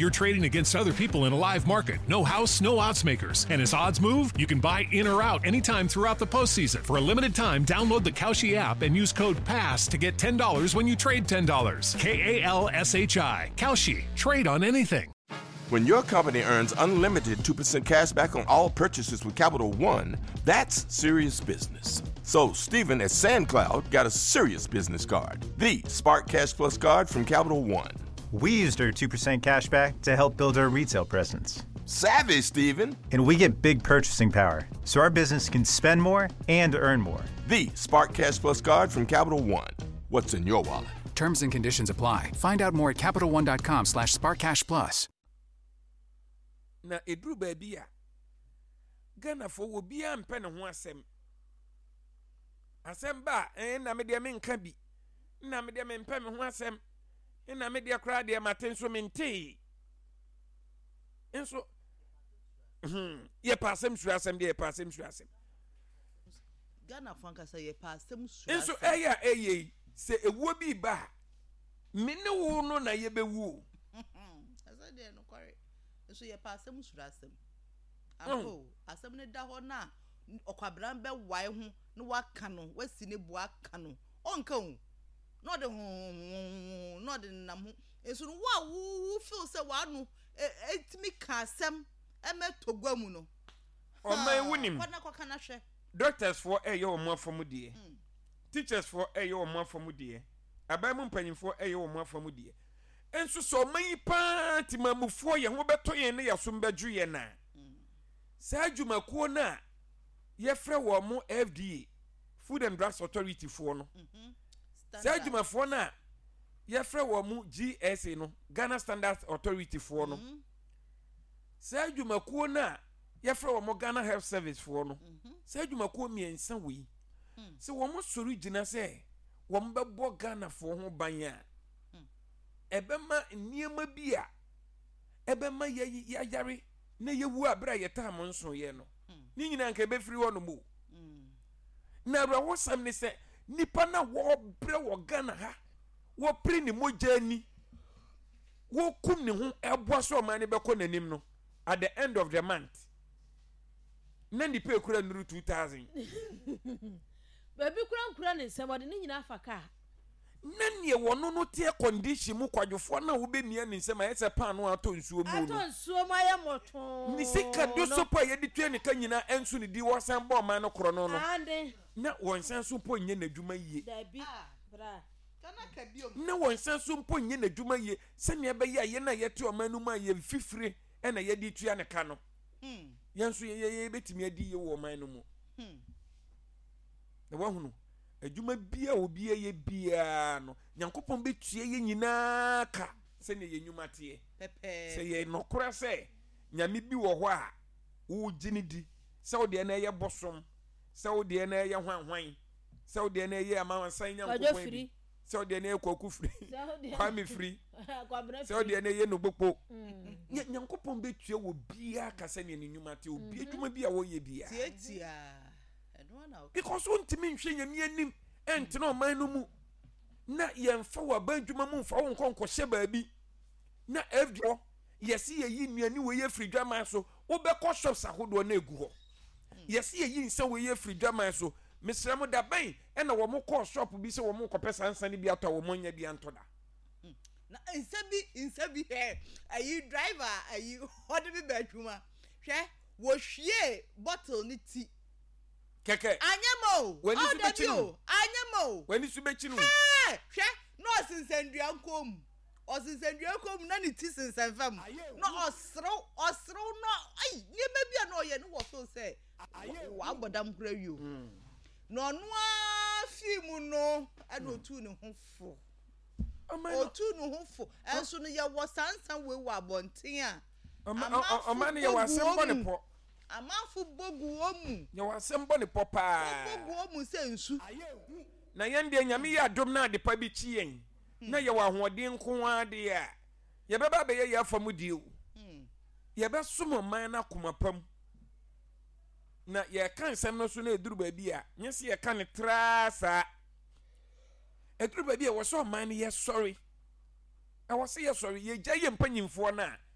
You're trading against other people in a live market. No house, no odds makers. And as odds move, you can buy in or out anytime throughout the postseason. For a limited time, download the Kalshi app and use code PASS to get $10 when you trade $10. Kalshi. Kalshi. Trade on anything. When your company earns unlimited 2% cash back on all purchases with Capital One, that's serious business. So, Steven at SandCloud got a serious business card, the Spark Cash Plus card from Capital One. We used our 2% cash back to help build our retail presence. Savvy, Steven! And we get big purchasing power, so our business can spend more and earn more. The Spark Cash Plus card from Capital One. What's in your wallet? Terms and conditions apply. Find out more at CapitalOne.com/SparkCashPlus. Na ɛduru baabi a, Ghanafoɔ obiara mpɛ ne ho asɛm. Asɛm ba a, ɛn na me deɛ menka bi. Na me deɛ mempɛ me ho asɛm. Na me deɛ koraa deɛ mate nso mentee. Nso, yɛpɛ asɛm suro asɛm deɛ, yɛpɛ asɛm suro asɛm. Ghanafoɔ ankasa yɛpɛ asɛm suro asɛm. Nso ɛyɛ a ɛyɛ yi, sɛ ewuo bi ba a, me ne wo no na yɛbɛwu o. Ɛsɛ deɛ nokware. Nso yɛpɛ asɛm suro asɛm. Ampa o, asɛm no da hɔ na ɔkwabran bɛwae ho na waka no, wasi ne bo aka no. Ɔnka o. Na ɔde hohohoho na ɔde nenam ho. Nso no wo a wo feel sɛ w'ano etumi ka asɛm ɛmɛ tɔ gua mu no. Ɔman wonim. Kɔ na kɔka na hwɛ. Doctors foɔ ɛyɛ wɔn afa mu deɛ. Teachers foɔ ɛyɛ wɔn afa mu deɛ. Aban mu mpanyinfoɔ ɛyɛ wɔn afa mu deɛ. Nso sɛ ɔman yi paa temamufoɔ yɛn ho bɛtɔ yɛn na yɛasom bɛdwo yɛn a, saa adwumakuo no a yɛfrɛ wɔn mo FDA, Food and Drugs Authority foɔ no, saa adwumafoɔ no a yɛfrɛ wɔn mo GSA no, Ghana Standards Authority foɔ no, saa adwumakuo no a yɛfrɛ wɔn mo Ghana Health Service foɔ no, saa adwumakuo mmiɛnsa wei, sɛ wɔn sɔre gyina sɛ wɔn bɛbɔ Ghanafoɔ ho ban a, ɛbɛma nneɛma bi a ɛbɛma yɛayare na yɛwu a berɛ a yɛtaa mo nsoeɛ no, ne nyinaa nka ɛbɛfiri hɔ nom o. Na awerɛhosɛm ne sɛ nipa no a wɔbrɛ wɔ Ghana ha, wɔpere ne mogya ani, wɔkum ne ho ɛboa sɛ ɔman no bɛkɔ n'anim no, at the end of the month na nipa ekura nnuru 2000. Baabi kura nkura ne nsam, ɔde ne nyinaa fa kaa. Na neɛ wɔno no teɛ condition mu kwadwofoɔ no a wobɛmia ne nsam ayɛ sɛ paano a atɔ nsuo mu no. Atɔ nsuo mu ayɛ mmɔtoo Ne sika no. dosopo a yɛde tua ne ka nyinaa ɛnso ne di wɔsan bɔ ɔman no korɔno no. Aane. Na wɔnsan so mpo nyɛ n'adwuma yie. Dabi, bra. Na wɔnsan so mpo nyɛ n'adwuma yie sɛnea ɛbɛyɛ a yɛn a yɛte ɔman no mu a yɛn fifire na yɛde tua ne ka no, yɛn nso yɛbɛtumi adi yie wɔ ɔman no mu. Na wahunu, adwuma biara a obi yɛ biara no, Nyankopɔn bɛtua yɛn nyinaa ka sɛnea yɛn nnwuma teɛ. Sɛ yɛ nɔkorɛ sɛ Nyame bi wɔ hɔ a wogye no di, sɛ wo deɛ no ɛyɛ bosom, sɛ wo deɛ no ɛyɛ hwanhwan, sɛ wo deɛ no ɛyɛ amansan Nyankopɔn bi, sɛ wo deɛ no ɛyɛ Kwaku Firi, Kwame Firi, sɛ wo deɛ no ɛyɛ Nobokpo, Nyankopɔn bɛtua wɔ biara ka sɛnea ne nnwuma teɛ, obi adwuma bi a wɔyɛ biara. Because wontumi nhwɛ Nyame anim ɛntena ɔman no mu na yɛmfa wɔ aban adwuma mu mfa wo nkɔ nkɔhyɛ baabi na FD hɔ yɛse yɛyi nnuane wei afiri dwaman so, wobɛkɔ shops ahodoɔ na egu hɔ. Yɛse yɛyi nsa wei afiri dwaman so, mesrɛ mo da bɛn ɛna wɔn kɔɔ shop bi sɛ wɔn rekɔpɛ saa nsa no bi atɔ a wɔn anya bi antɔ da? Na nsa bi nsa bi hɛ ayi driver ayi ɔde bi bɛ adwuma hwɛ wɔhwie bottle ne ti. Kɛkɛ. Anyɛ ma o. W'ani Oh, so dabi bɛkyi no. o. Anyɛ ma o. W'ani so bɛkyi no. Hɛɛ! Hwɛ, na ɔsensɛn dua nkɔn mu. Ɔsensɛn dua nkɔn mu na ne ti sensɛn fam. Na ɔserew, ɔserew na ai, nneɛma bi a na ɔyɛ no wɔ so sɛ wabɔ dam koraa wie o. Na ɔno ara fii mu no, ɛna otuu ne ho fo. Otuu ne ho fo. Ɛnso no, yɛwɔ saa nsa wei wɔ abɔnten a, amanfo bɔ gu wɔn mu. Amanfo bɔ gu wɔn mu. Yɛwɔ asɛm bɔ ne pɔ paa. Wɔbɔ gu wɔn mu sɛ nsu. Na yɛn deɛ, Nyame yɛ adom na adepa bi kye yɛn na yɛwɔ ahoɔden nko ara deɛ a, yɛbɛba abɛyɛ yɛn afa mu deɛ o. Yɛbɛsom ɔman no akoma pa mu. Na yɛka nsɛm no so na ɛduru baabi a, nyɛ sɛ yɛka no traa saa. Ɛduru baabi a, ɛwɔ sɛ ɔman no yɛsɔre. Ɛwɔ sɛ yɛsɔre. Yɛgya yɛn mpanyimfoɔ no a.